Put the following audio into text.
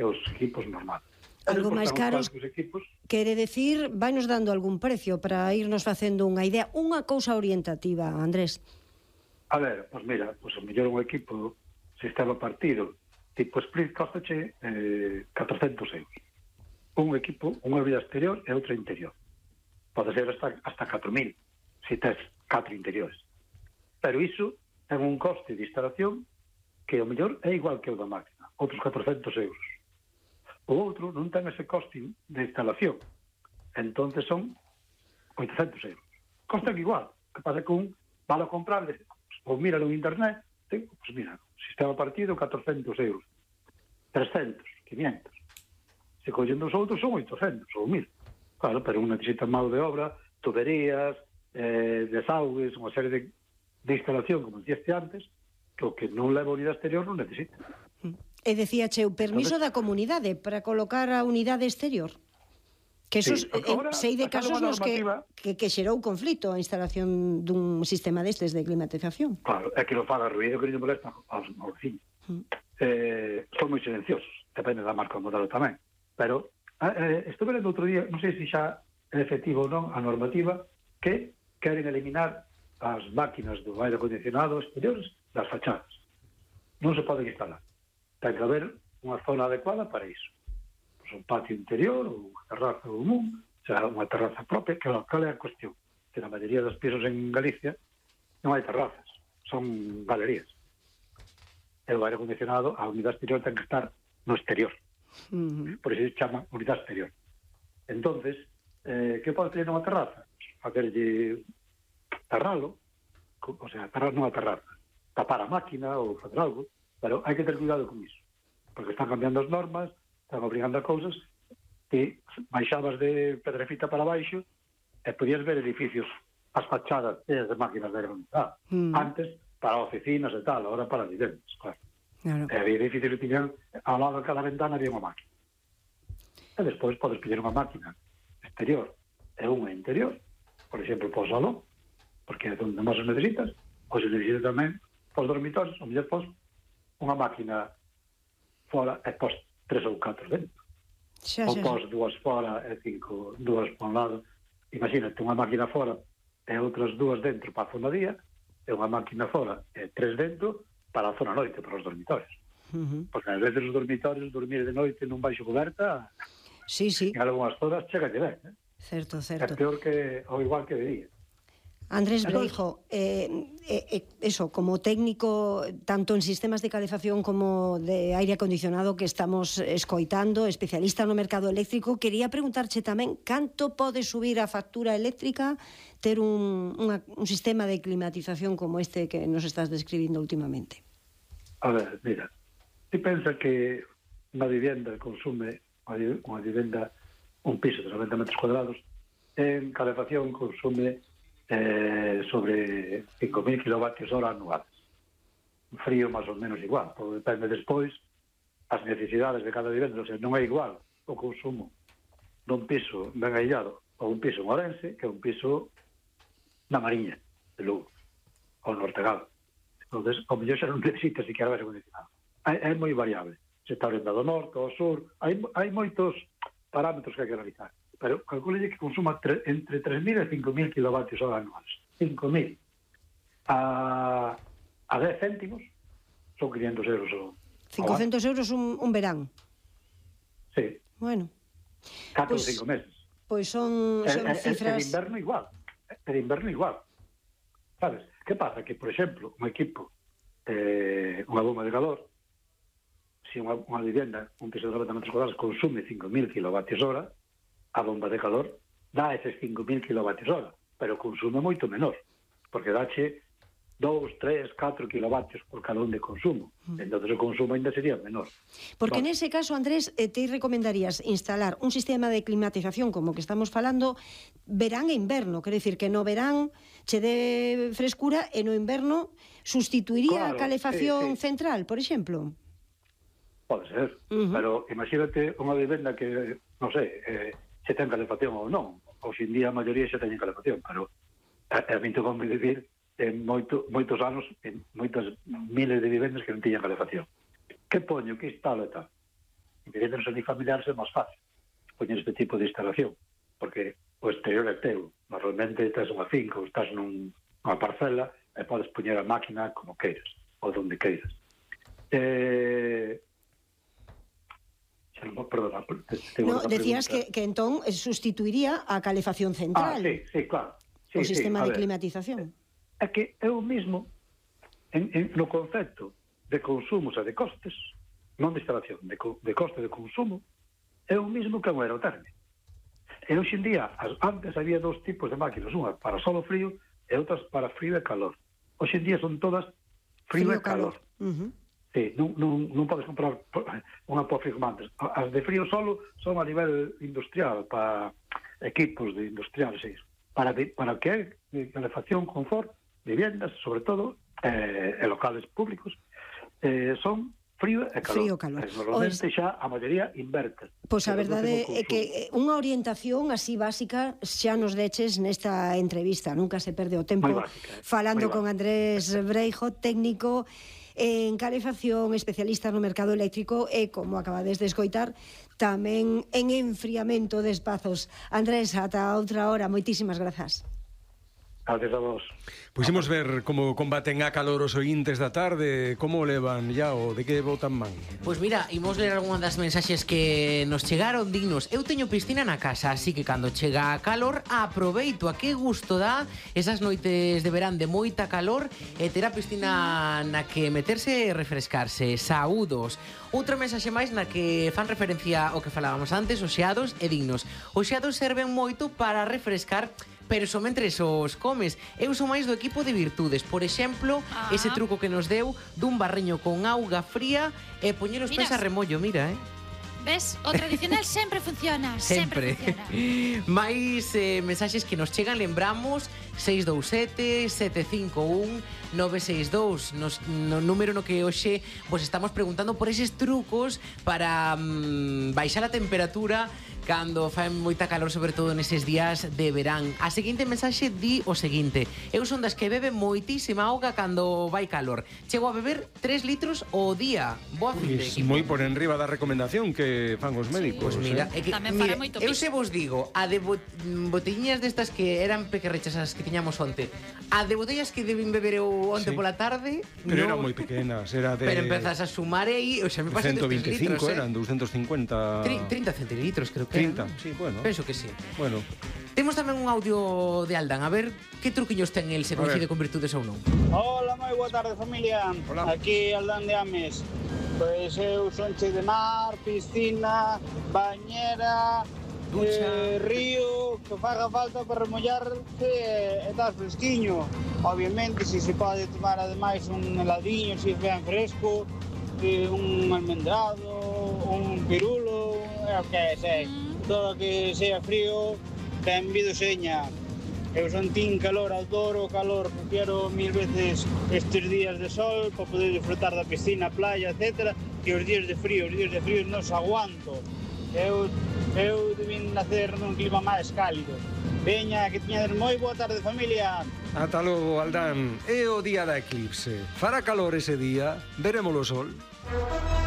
os equipos normales. Algo máis caros, quere decir, vai nos dando algún precio para irnos facendo unha idea, unha cousa orientativa, Andrés. A ver, pois mira, pois o mellor un equipo sistema partido tipo split costache 400 euros. Un equipo, unha vida exterior e outra interior. Pode ser hasta 4.000 se tes 4 interiores. Pero iso ten un coste de instalación que o mellor é igual que o da máquina, outros 400 euros. O outro non ten ese coste de instalación, entonces son 800 euros. Costan igual, que pasa que un vale a comprar, ou míralo en internet, pues mira, sistema partido 400 euros, 300, 500. Se collen dos outros son 800 ou 1.000. Claro, pero un necesita mão de obra, tuberías, desaugues, unha serie de instalación, como dixeste antes, que o que non leva a unidade exterior non necesita. E decíache o permiso da comunidade para colocar a unidade exterior. Que esos, sei de casos nos que xerou conflito a instalación dun sistema destes de climatización. Claro, é que non faga ruido, que non molesta aos vecinos. Son moi silenciosos, depende da marca ou modelo tamén. Pero estou vendo outro día, non sei se xa é efectivo ou non, a normativa que queren eliminar as máquinas do aire acondicionado exteriores das fachadas. Non se poden instalar. Ten que haber unha zona adecuada para iso. Pois un patio interior ou unha terraza común, o sea, unha terraza propia, que cal é a cuestión? Que na maioría dos pisos en Galicia non hai terrazas, son galerías. E o aire acondicionado, a unidade exterior ten que estar no exterior. Por iso se chama unidade exterior. Entonces, que pode ter nunha terraza? Facerlle cerralo, o sea, cerrar nunha terraza, tapar a máquina ou facer algo, pero hai que ter cuidado con iso, porque están cambiando as normas, están obrigando a cousas que baixabas de Pedrefita para baixo e podías ver edificios, as fachadas de máquinas de aire acondicionado. Antes, para oficinas e tal, ahora para vivendas, claro. E había edificios que tiñan ao lado de cada ventana había unha máquina. E despois podes pedir unha máquina exterior e unha interior, por exemplo, para o salón, porque é onde máis os necesitas, ou se necesitas tamén para os dormitorios, ou mellor pos unha máquina fora e pos 3 ou 4 dentro. Ou pos 2 fora e 2 para un lado. Imagínate unha máquina fora e outras 2 dentro para a zona día, e unha máquina fora e 3 dentro para a zona noite, para os dormitorios. Porque ás veces os dormitorios, dormir de noite nun baixo coberta, en algunhas zonas chega a ver. Certo. É peor que, ou igual que de día. Andrés Breijo, eso, como técnico tanto en sistemas de calefacción como de aire acondicionado que estamos escoitando, especialista no mercado eléctrico, quería preguntarche tamén canto pode subir a factura eléctrica ter un sistema de climatización como este que nos estás describindo últimamente. A ver, mira, ti pensa que unha vivenda consume, unha vivenda, un piso de 90 metros cuadrados, en calefacción consume sobre 5.000 kWh anuales. Frío máis ou menos igual, porque depende despois as necesidades de cada vivenda, o sea, non é igual o consumo dun piso ben aillado ou un piso en Ourense que un piso na Mariña de Lugo ou no Ortegado. Entonces, o mellor xa non necesita siquiera aire acondicionado. É moi variable, se está orientado ao norte, ao sur, hai moitos parámetros que hai que analizar. Pero calculelle que consuma entre 3.000 e 5.000 kWh anuales. 5.000 a 10 céntimos son 500 euros. 500 euros un verán. Sí. Bueno. 4 ou 5 meses. Pois son cifras... De inverno igual. Sabes? Que pasa? Que, por exemplo, un equipo, unha bomba de calor, se unha vivenda, un piso de 90 metros cuadrados, consume 5.000 kWh, a bomba de calor dá eses 5.000 kWh, pero consume moito menor, porque dache 2, 3, 4 kW por cada un de consumo. Entón o consumo ainda sería menor. Porque nese caso, Andrés, te recomendarías instalar un sistema de climatización como que estamos falando verán e inverno, quer dicir que no verán che dé frescura e no inverno sustituiría a calefacción central, por exemplo? Pode ser, pero imagínate unha vivenda que, non sei, se ten calefacción ou non. Hoxe en día a maioría xa teñen calefacción, pero a mí tocou vivir en moitos anos en moitas miles de vivendas que non tiñan calefacción. Que poño, que instalo e tal? vivendas unifamiliares é máis fácil poñer este tipo de instalación, porque o exterior é teu. Normalmente estás unha finca ou estás nunha parcela e podes poñer a máquina como queiras, ou donde queiras. Perdona. Decías que entón sustituiría a calefacción central. Sí, claro. O sistema de climatización. É que é o mismo no concepto de consumos e de costes, non de instalación, de coste de consumo, é o mismo que un aerotermio. E hoxe en día, antes había dos tipos de máquinas, unha para solo frío e outras para frío e calor. Hoxe en día son todas frío e calor. Sí, non podes comprar unha por firmantes. As de frío solo son a nivel industrial, para equipos de industriales, para que é calefacción, confort, viviendas, sobre todo, e locales públicos, son frío e calor. Frío e calor. Normalmente xa a maioría inverte. Pois a verdade é que unha orientación así básica xa nos deches nesta entrevista. Nunca se perde o tempo falando con Andrés Breijo, técnico en calefacción, especialista no mercado eléctrico e, como acabades de escoitar, tamén en enfriamento de espazos. Andrés, ata outra hora, moitísimas grazas. Gracias a vos. Pois imos ver como combaten a calor os ointes da tarde, como levan ya o de que botan man. Pois mira, imos ler algunha das mensaxes que nos chegaron dignos. Eu teño piscina na casa, así que cando chega a calor aproveito. A que gusto dá esas noites de verán de moita calor e ter a piscina na que meterse e refrescarse. Saúdos. Outra mensaxe máis na que fan referencia ao que falábamos antes, os xeados e dignos. Os xeados serven moito para refrescar, pero somente os comes. Eu sou máis do equipo de virtudes. Por exemplo, ese truco que nos deu dun barriño con auga fría e poñer os pés a remollo, mira, Ves? O tradicional sempre funciona. Sempre funciona. Mais mensaxes que nos chegan, lembramos 627-751-962 no número no que hoxe vos estamos preguntando por eses trucos para baixar a temperatura cando faen moita calor, sobre todo neses días de verán. A seguinte mensaxe di o seguinte: eu son das que bebe moitísima auga cando vai calor. Chego a beber 3 litros ao día. Boa fin de equipo. Moi por enriba da recomendación que fan os médicos. Pois mira, eu se vos digo, a de botelliñas destas que eran pequerrechas as que tiñamos onte, a de botellas que deben beber eu onte pola tarde, pero eran moi pequenas, era de... Pero empezas a sumar aí, o sea, me pasé 125 eran 250... 30 centilitros, creo que 30, sí, bueno. Penso que sí. Bueno. Temos tamén un audio de Aldan, a ver que truquiños ten el, se coincide con virtudes ou non. Hola, moi boa tarde, familia. Hola. Aquí Aldan de Ames. Pois eu son che de mar, piscina, bañera, río, que faga falta para remollarse e estar fresquiño. Obviamente, se pode tomar ademais un heladiño, se ben fresco, un almendrado, un pirulo, o que sei. Todo que sea frío, ten vido seña. Eu son tin calor, adoro o calor, prefiero 1000 veces estes días de sol para poder disfrutar da piscina, playa, etc. Que os días de frío non os aguanto. Eu debín nacer nun clima máis cálido. Veña, que teñades moi boa tarde, familia. Ata logo, Aldán. É o día da eclipse. Fará calor ese día, veremos o sol.